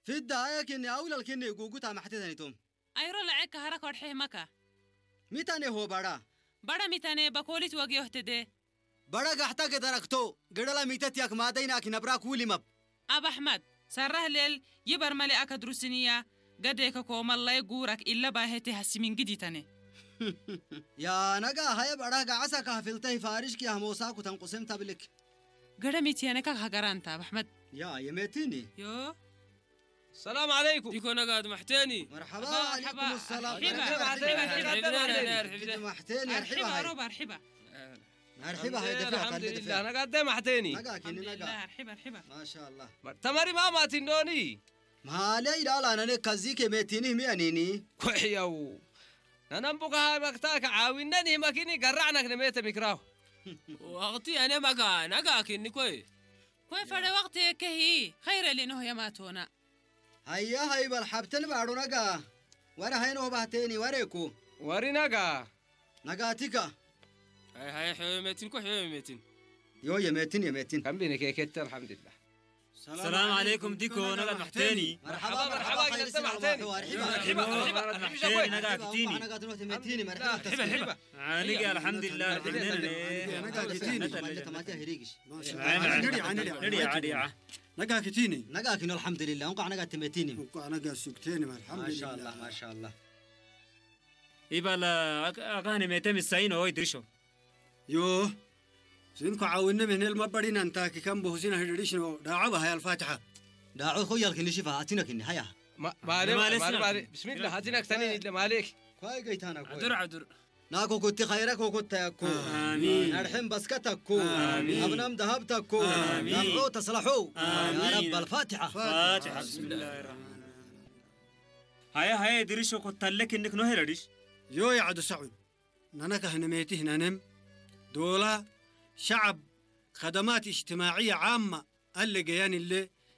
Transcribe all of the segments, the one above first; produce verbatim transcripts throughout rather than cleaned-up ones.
ፍዳ አየ ክኒ አውለል ክኒ ጉጉት አማሕቴ ተኒቶም። አይሮ ለዐ ከሀረ ኮድሐ ህመከ። ሚተኔ ሆ በራ? በረ ሚተኔ በኮሊት ወግዮህ ትዴ። በረ ጋሕታ ገደረክቶ፣ ገደላ ሚተት ያክ ማደይናኪ ነብራክ ውሊመብ። አብ አሕመድ፣ ሰራህ ሌል ይበር መሌአከ ድሩስንያ፣ ገዴከ ኮመላይ ጉረክ ኢለ ባሄቴ ሐሲሚን ግዲ ተኔ። ያ ነጋ ሀየ በረ ጋዓሳ ካፍልተይ ፋሪሽክ ያህሞሳኩ ተንቁስም ተብልክ። ገረ ሚትየነካ ሀገራንታ አብ አሕመድ። ያ የሜትኒ። ዮ። ሰላም ዐለይኩም። ዲኮ ነጋድ መሕቴኒ። መርሐባ መርሐባ፣ ወዐለይኩም ሰላም። አርሒባ፣ መርሐባ፣ አርሒባ፣ መርሐባ፣ አርሒባ። መርሐባ፣ መርሐባ። አርሒባ፣ አርሒባ፣ አርሒባ። አርሒባ፣ ሀይ ደፈዕ፣ አልሐምዱሊላህ፣ ካለ ደፈዕ። ነጋዴ መሕቴኒ። ነጋ ኪኒ ነጋ። አልሐምዱሊላህ፣ አርሒባ፣ አርሒባ። ማሻአላህ። ተመሪ ማማቲ እንዶኒ። ማሌ ይላል አነነ ከዚ ከሜቲኒ ህሚ አኒኒ። ኮሕየው። ነነም ቡካ ሀይ መክታከ ዓዊነኒ ህመኪኒ ገራዕነክ ነሜተ ሚክራሁ። ወቅቲ አነ መጋ ነጋ ኪኒ ኮይ። ኮይ ፈሬ ወቅት የከሂ ኸይረ ሌኖህ የማቶና። ሀያ ሀይ በል ሐብትን ባዕሩ ነጋ። ወረ ሀይ ኖባህቴኒ ወሬኩ። ወሪ ነጋ። ነጋቲካ። ሀይ ሀይ ሕዮ ሜቲን ኮ ሕዮ ሜቲን። ዮ የሜቲን የሜቲን። ከም ቢኒ ኬኬት አልሐምዱሊላህ። ሰላም ዐለይኩም ዲኮ ነጋ መሕቴኒ። መርሐባ መርሐባ መርሐባ ኸይር ኸይር ሰላም መሕቴኒ። መርሐባ መርሐባ መርሐባ መርሐባ መርሐባ መሕቴኒ ነጋ ክትኒ። ነጋ ትኖት ሜቲኒ መርሐባ መርሐባ ተስፋ። መርሐባ። አንገ አልሐምዱሊላህ ነጋ ክትኒ። ነጋ ክትኒ። ነጋ ክትኒ። ነጋ ክትኒ። ነጋ ክትኒ አልሐምዱሊላህ። እንኳዕ ነጋ ትሜቲኒ። እንኳዕ ነጋ ሱግቴኒ አልሐምዱሊላህ። ማሻአላህ ማሻአላህ። ኢባላ አክ-፣ አካን ሜተ ምሳይን ሆይ ድርሾ። ዮ፣ ስንኮ ዓውነ ምን ህል መበሪን አንታኪ ከም ቦሁሲን ህድሪሽ ነው። ዳዓ በሃይ አልፋትሐ። ዳዓ እኮ ያልክኒ ሽፋ አቲነክኒ ሀያ። ማ-፣ ማሌ፣ ማሌ ማሌ፣ ስና። ማሌ። ብስሚላህ፣ አቲነክ ተኒን ይለ ማሌክ። ኳይ ገይታና ኳይ። ዐዱር፣ ዐዱር። ናኮ ኩቲ ኸይረክ ወኩተያኮ። አሚን። ነርሕም በስከተኮ። አሚን። አብናም ደሀብተኮ። አሚን። ለምዖ ተስለሖ። አሚን። ያ ረብ አልፋትሐ። ፋትሐ። ብስሚላህ ረሕማን ረሒም። ሀየ፣ ሀየ፣ ድርሽ ወኮተለክ እንክ ኖህ ረድሽ። ዮ የዐዱ ሰዑድ። ነነ ከህንሜቲህ ነንም፣ ዶላ፣ ሸዐብ፣ ከደማት እጅትማዕየ ዓመ፣ አለ ገያንለ፣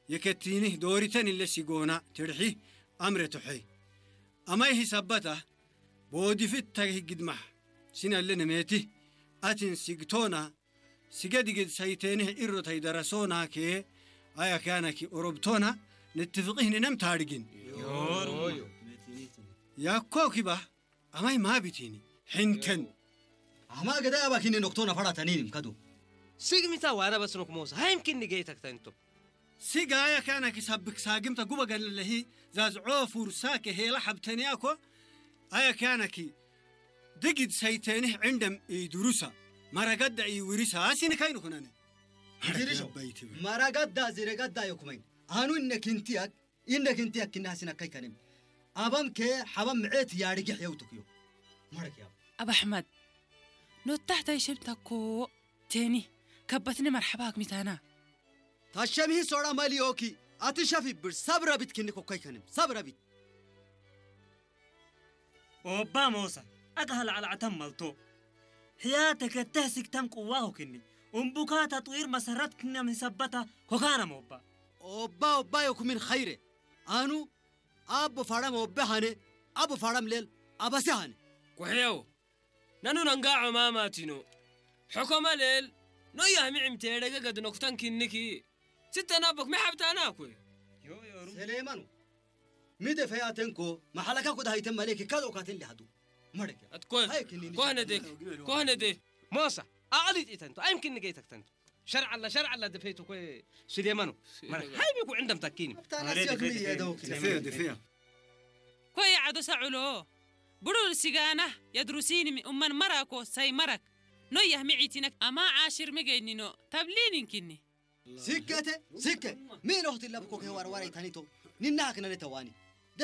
የከቲኒህ ዶሪተንለ ሲጎና፣ ትርሒህ፣ አምረ ቱሐይ። አማይህ ሰበታ፣ ቦዲፍት ተግህ ግድማሕ፣ ሲነለ ንሜቲህ፣ አትን ሲግቶና፣ ሲገ ድግድ ሰይቴንህ ኢሮታይ ደረሶና ከ፣ አያ ካነኪ ኦሮብቶና፣ ንትፍቅህ ንነም ታርግን። ዮሩ። ያኮኪባ፣ አማይ ማ ቢቲኒ፣ ሕንተን። አማ ገዳ አባኪኒ ኖክቶና ፈራተኒንም ከዱ። ሲግ ሚታ ዋና በስኖክ ሞሳ፣ ሃይምኪኒ ገይተክ ተንቶ። ሲግ አያ ካነኪ ሰብክ ሳግምተ ጉበ ገለለሂ፣ ዛዝዖ ፉርሳከ ሄላ ሐብተንያኮ፣ አያ ካነኪ ድግድ ሰይቴንህ ዕንደም ኢዱሩሳ፣ መረገዳ ኢውሪሳ፣ አሲኒ ካይን ኩነነ። ድርሾ፣ መረገዳ ዚረገዳ የኩመይን። አኑ እነ ክንትያክ፣ እነ ክንትያክ ክና አሲኒ አካይ ከንም። አባም ከ ሐባም ምዕት ያርግሕ የውቱክዮ። መረክ ያው። አብ አሕመድ፣ ኖታሕታይ ሽም ተኮ ቴኒ፣ ከበትኒ መርሐባ አክሚታና። ታሸምሂ ሶራ መልዮኪ፣ አትሸፊ ብር፣ ሰብረ ቢት ክኒ ኮካይ ከንም፣ ሰብረ ቢት። ኦባ ሞሳ፣ አቅሀ ለዐለ ዐተም መልቶ። ሕያተ ከተህ ስክተም ቅዋሁ ክኒ፣ እምቡካ ተጥዊር መሰረት ክነ ምን ሰበታ ኮካነ ሞባ። ኦባ፣ ኦባ ዮኩ ምን ኸይረ። አኑ አቡ ፈረም ኦበ ሀነ፣ አቡ ፈረም ሌል አበሰ ሀነ። ኩሕየው፣ ነኑ ነንጋዖ ማማቲኖ። ሕኮመ ሌል፣ ኖያህ ሚዕም ቴረገ ገድ ኖክተን ክኒኪ። ስተናቦክ ሚ ሐብታና እኮ። ዮ፣ ዮ፣ ሩም። ሰሌማኑ፣ ሚ ደፈያተንኮ፣ መሐለካ ኩዳ ሀይተን መሌክ ካዶ ካተን ሊሃዱ። መረክ። አትኮ-፣ ሀይ ክኒ ኮህነ ዴክ፣ ኮህነ ዴ። ሞሳ፣ አቅሊጥ ኢተንቱ፣ አይምክን ገይተክ ተንቱ። ሸርዕ አላ፣ ሸርዕ አላ ደፈይቱ እኮ ሱሌማኑ። መረ-፣ ሀይ ቢኩ ዕንደም ታኪኒ። አብታና አሬ ሲያክ ደፈይ፣ ምን ደፈይ፣ የደው ደፈይ፣ ደፈይ። ኮ የዐዶ ሰዑሎ። ብሩር ሲጋናህ የድሩሲኒ ሚ ኡመን መራኮ ሳይ መረክ። ኖያህ ሚዒቲነክ አማ ዓሽር ሚገይኒኖ ተብሊኒንኪኒ። ሲከተ፣ ሲከ፣ ሚ ኖህት ለብኮ ከወርወረ ተኒቶ፣ ንናክ ነነ ተዋኒ።